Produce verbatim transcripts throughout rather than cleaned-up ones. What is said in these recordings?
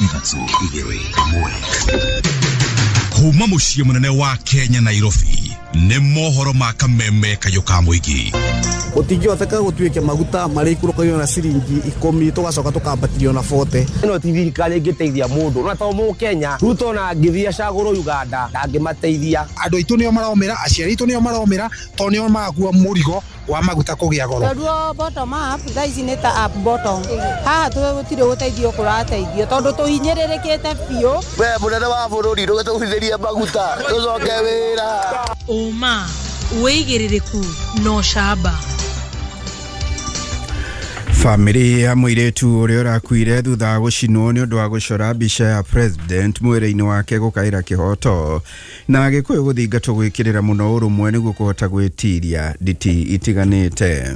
Ithatũ, igĩrĩ, ĩmwe. Kuma mũciĩ mũnene wa Kenya, Nairobi, nĩ mohoro ma Kameme kayũ ka mũingĩ. Gũtingĩhoteka gũtuĩke maguta marĩikũrũkagio na ciringi ikũmi, tũgacoka tũkambatĩrio na bote. Ĩno ti thirikari ĩngĩteithia mũndũ na to Mũkenya. Ruto na angĩthiĩ acagũrwo Uganda, ndangĩmateithia. Andũ aitũ nĩo maromĩra, aciari aitũ nĩo maromĩra, tondũ nĩo marakua mũrigo wa maguta kũgĩa goro. Tondũ bottom up thaa ici nĩ ta up bottom. Haha gũtirĩ gũteithio kũrateithio tondũ tũhinyĩrĩrĩkĩte biũ. We mũnene wa bũrũri, ndũgĩtũgũithĩrie maguta tũcoke wĩra. Ũma, wĩigĩrĩrĩku na ũcamba. Bamĩrĩ ya mũirĩtu ũrĩa ũrakuire thutha wa gũcinwo nĩ ũndũ wa gũcora mbica ya president mwĩrĩ-inĩ wake gũkaĩra kĩhoto, na Gĩkũyũ gũthingatwo gwĩkĩrĩra mũno ũrũmwe nĩguo kũhota gwĩtiria nditi itiganĩte.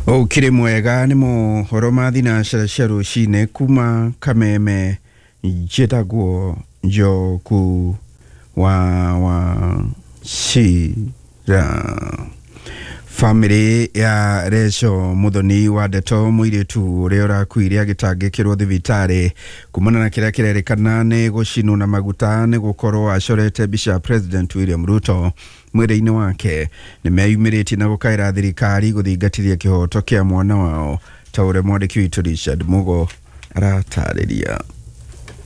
Ũkĩrĩ mwega nĩ mohoro ma thinacara cia rũcinĩ kuma Kameme. Njĩtagwo Njoku wa Wachira. Bamĩrĩ ya Recho Muthoni wa Ndeto, mũirĩtu ũrĩa ũrakuire agĩtangĩkĩrwo thibitarĩ kumana na kĩrĩa kĩrerĩkana nĩ gũcinwo na maguta nĩ gũkorwo acorete mbica ya President William Ruto mwĩrĩ-inĩ wake, nĩ meyumĩrĩtie na gũkaĩra thirikari gũthingatithia kĩhoto kĩa mwana wao, ta ũrĩa mwandĩki witũ Richard Mugo aratarĩria.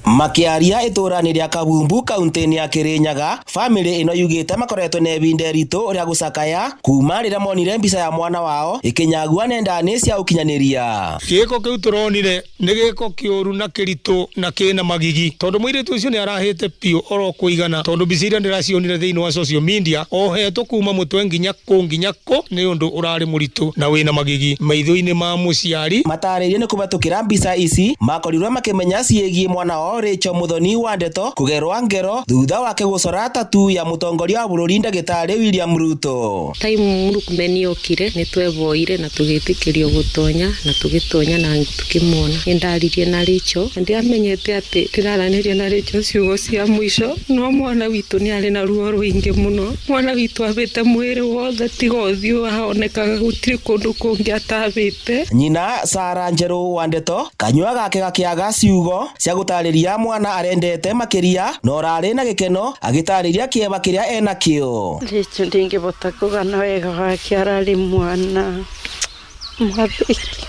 Makiaria itũra-inĩ rĩa Kabumbu, kaunti-inĩ ya Kirinyaga, bamĩrĩ ĩno yugĩte makoretwo na ibinda iritũ rĩa gũcakaya kuma rĩrĩa monire mbica ya mwana wao ĩkĩnyagua nenda-inĩ cia ũkinyanĩria. Gĩko kĩu tũronire nĩ gĩko kĩũru na kĩritũ na kĩna magigi, tondũ mũirĩtu ũcio nĩ arahĩte biũ oro kũigana, tondũ mbica iria ndĩracionire thĩinĩ wa social media ohetwo kuma mũtwe nginya kũ nginya kũ, nĩ ũndũ ũrarĩ mũritũ na wĩna magigi maitho-inĩ ma mũciari. Matarĩirie nĩ kũhetũkĩra mbica ici makorirwo makĩmenya ciĩgiĩ mwana wao Rachel Muthoni wa Ndeto kũgerwa ngero thutha wake gũcora tatu ya mũtongoria wa bũrũri ndagĩtarĩ William Ruto. Time Murkomen okire nĩ tweboire na tũgĩtĩkĩrio gũtonya na tũgĩtonya na tũkĩmuona. Nĩ ndaririe na Rachel, ndiamenyete atĩ ndĩraranĩria na Rachel ciugo cia mũico, no mwana witũ nĩ arĩ na ruo rũingĩ mũno. Mwana witũ abĩte mwĩrĩ wothe tiga ũthiũ ahonekaga, gũtirĩ kũndũ kũngĩ atabĩte. Nyina Sara Njerũ wa Ndeto kanyua gake gakĩaga ciugo cia gũtarĩria mwana arendete makĩria na ũrarĩ na gĩkeno agĩtarĩria kĩeva kĩrĩa enakĩo. Rachel ndingĩbota kũgana wega wake, ararĩ mwana mwathĩki,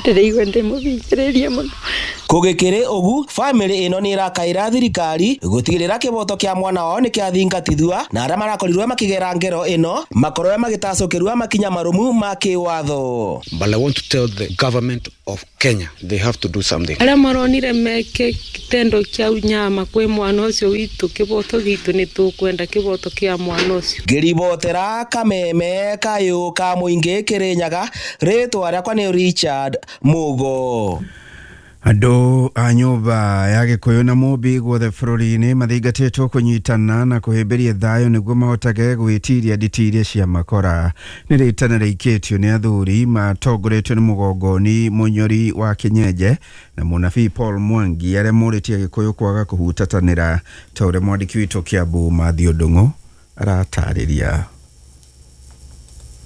ndĩraigua ndĩmũthikĩrĩria mũno. Kũgĩkĩrĩ ũgu, bamĩrĩ ĩno nĩ ĩrakaĩra thirikari gũtigĩrĩra kĩboto kĩa mwana wao nĩ kĩathingatithua na arĩa marakorirwo makĩgera ngero ĩno makorwo magĩtacũkĩrwo makinya marũmu ma kĩwatho. But I want to tell the government of Kenya they have to do something. Arĩa maronire meke kitendo kĩa unyama kwĩ mwana ũcio witũ, kĩboto gitũ nĩ tũkwenda kĩboto kĩa mwana ũcio. Ngĩribotera Kameme kayũ ka mũingĩ Kĩrĩnyaga, rĩtwa rĩakwa nĩ Richard Mugo. Andũ a nyũmba ya Gĩkũyũ na Mũmbi guothe bũrũri-inĩ mathingatĩtwo kũnyitana na kũhĩmbĩria thayũ nĩguo mahotage gwĩtiria nditi iria cia makora. Nĩ rĩtana rĩikĩtio nĩ athuri matongoretio nĩ mũgongoni Mũnyori wa Kĩnyenje na mũnabii Paul Mwangi, arĩa morĩtie Gĩkũyũ kwaga kũhutatanĩra, ta ũrĩa mwandĩki witũ Kĩambu Mathiũ Ndung'u aratarĩria.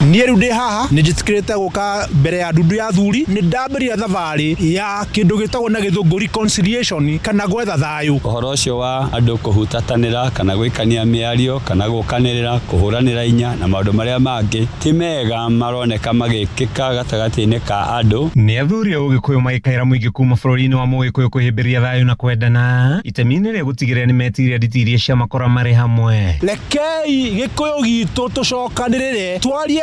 Niĩ rĩu ndĩ haha nĩ njĩtĩkĩrĩte gũka mbere ya ndundu ya athuri, nĩ ndambĩrĩria thabarĩ ya kĩndũ gĩtagwo na gĩthũngũ reconciliation kana gwetha thayũ. Ũhoro ũcio wa andũ kũhutatanĩra kana gwĩkania mĩario kana gũkanĩrĩra kũhũranĩra inya na maũndũ marĩa mangĩ ti mega maroneka magĩkĩka gatagatĩ-inĩ ka andũ. Nĩ athuri a Ũgĩkũyũ magĩkaĩra mũingĩ kuma bũrũri-inĩ wa Mũgĩkũyũ kũhĩmbĩria thayũ na kwendana itemi-inĩ rĩa gũtigĩrĩra nĩ metiria nditi iria cia makora marĩ hamwe. Rekei Gĩkũyũ gitũ tũcokanĩrĩre, twarie